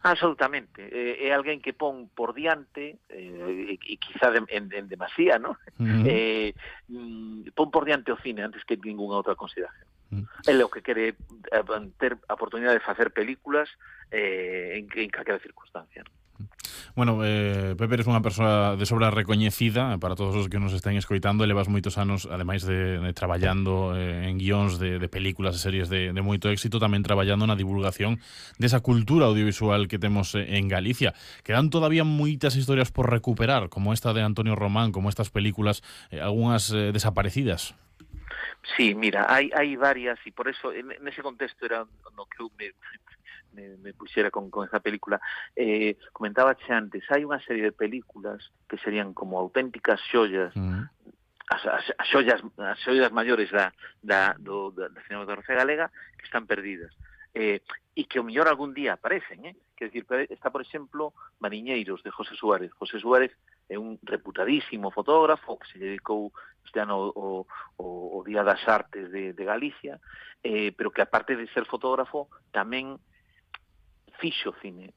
Absolutamente. É alguén que pon por diante, e quizá en demasía, ¿no? Uh Pon por diante o cine antes que ninguna outra consideración. -huh. Ele o que quere ter a oportunidade de facer películas en calquera circunstancia, ¿no? Bueno, Pepe, eres unha persoa de sobra recoñecida para todos os que nos estén escoitando. Levas moitos anos, ademais de traballando en guións de películas e series de moito éxito, tamén traballando na divulgación desa cultura audiovisual que temos en Galicia. Quedan todavía moitas historias por recuperar, como esta de Antonio Román, como estas películas, algunhas desaparecidas. Sí, mira, hai varias, e por eso, nese contexto era no que eu me puxera con esa película. Comentaba antes, hai unha serie de películas que serían como auténticas xollas, Mm. as xollas maiores da cinematografía galega, que están perdidas. E que o mellor algún día aparecen, Quer decir, está, por exemplo, Mariñeiros, de José Suárez. José Suárez é un reputadísimo fotógrafo que se dedicou este ano o Día das Artes de Galicia, pero que, aparte de ser fotógrafo, tamén fixo cine,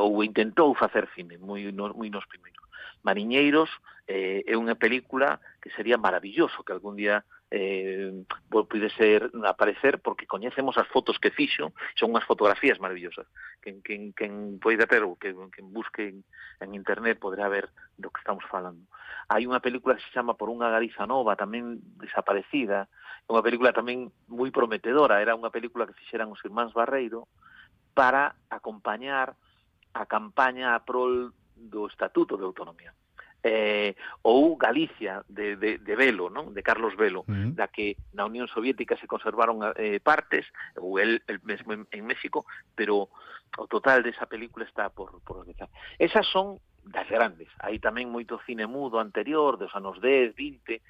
ou intentou facer cine, moi nos primeiros. Mariñeiros é unha película que sería maravilloso que algún día pude ser aparecer, porque coñecemos as fotos que fixo, son unhas fotografías maravillosas. Quen poida ter ou quen busque en internet poderá ver do que estamos falando. Hai unha película que se chama Por unha Galiza Nova, tamén desaparecida, unha película tamén moi prometedora, era unha película que fixeran os irmáns Barreiro para acompañar a campaña a prol do Estatuto de Autonomía. Ou Galicia de Velo, non? De Carlos Velo, Mm. da que na Unión Soviética se conservaron partes, ou el mesmo en México, pero o total desa película está por realizar. Esas son das grandes. Hai tamén moito cine mudo anterior, dos anos 10, 20,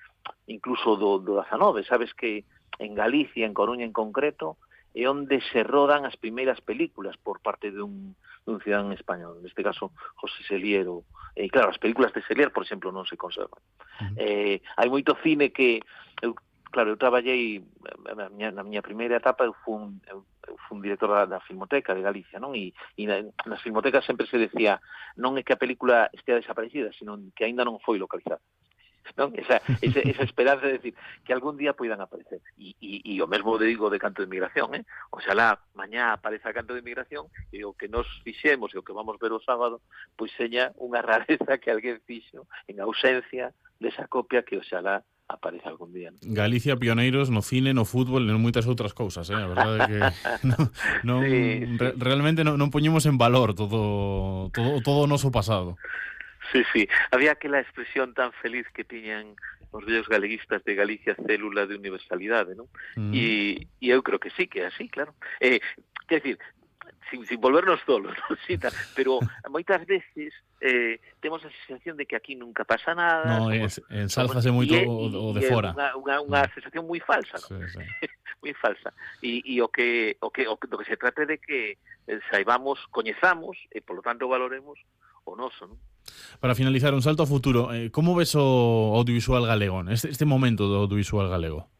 incluso do 19. Sabes que en Galicia, en Coruña en concreto, é onde se rodan as primeiras películas por parte dun cidadán español, neste caso José Selier. E claro, as películas de Selier, por exemplo, non se conservan. Mm. Hai moito cine que eu traballei na miña primeira etapa, eu fui un director da Filmoteca de Galicia, non? E nas filmotecas sempre se decía, non é que a película estea desaparecida, sino que aínda non foi localizada, non? Esa esperanza de decir que algún día poidan aparecer. E o mesmo digo de Canto de Inmigración, Oxalá mañá apareza Canto de Inmigración e o que nos fixemos e o que vamos ver o sábado, pois seña unha rareza que alguén fixo en ausencia desa copia que oxalá aparece algún día, non? Galicia pioneiros no cine, no fútbol e en moitas outras cousas, A verdade é que Sí, sí. realmente non poñemos en valor todo o noso pasado. Sí. Había aquela expresión tan feliz que tiñan os vellos galeguistas de Galicia, célula de universalidade, non? Mm. E eu creo que sí, que é así, claro. Quer decir, sin volvernos tolos, non? Sí, pero moitas veces temos a sensación de que aquí nunca pasa nada, No, somos ensálzase moito o de é fora. unha sensación moi falsa, non? Sí, sí. Moi falsa. E do que se trata de que saibamos, coñezamos e polo tanto valoremos o noso, non? Para finalizar, un salto ao futuro, como ves o audiovisual galego, este momento do audiovisual galego?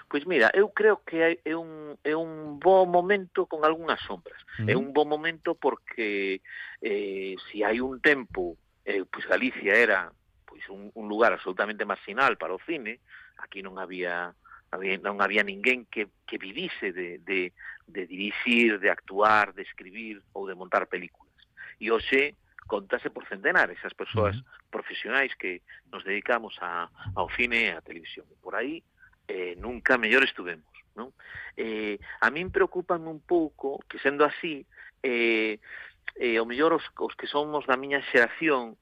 Pois mira, eu creo que é un bo momento con algunhas sombras. É Mm. un bo momento porque se hai un tempo, pois Galicia era pois un lugar absolutamente marginal para o cine, aquí non había ninguén que vivise de dirixir, de actuar, de escribir ou de montar películas. E hoxe contase por centenares as persoas Mm. profesionais que nos dedicamos ao cine e á televisión. Por aí nunca mellor estuvemos, non? A min preocupan un pouco que, sendo así, o mellor os que somos da miña xeración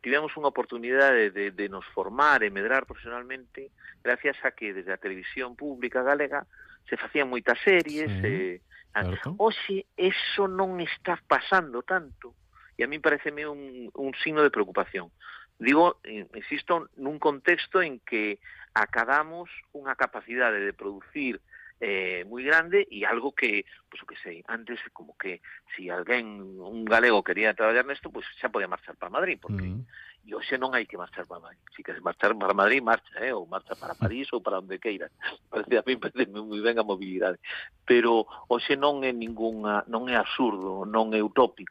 tivemos unha oportunidade de nos formar e medrar profesionalmente gracias a que desde a televisión pública galega se facían moitas series. Sí, certo. Hoxe eso non está pasando tanto e a mí pareceme un signo de preocupación. Digo, insisto, nun contexto en que acadamos unha capacidade de producir moi grande e algo que, pois o que sei, antes como que si alguén, un galego quería traballar nesto, pois xa podía marchar para Madrid, porque e hoxe non hai que marchar para Madrid. Si queres marchar para Madrid, marcha, ou marcha para París ou para onde queiras. Parece a mí moi ben a mobilidade. Pero hoxe non é absurdo, non é utópico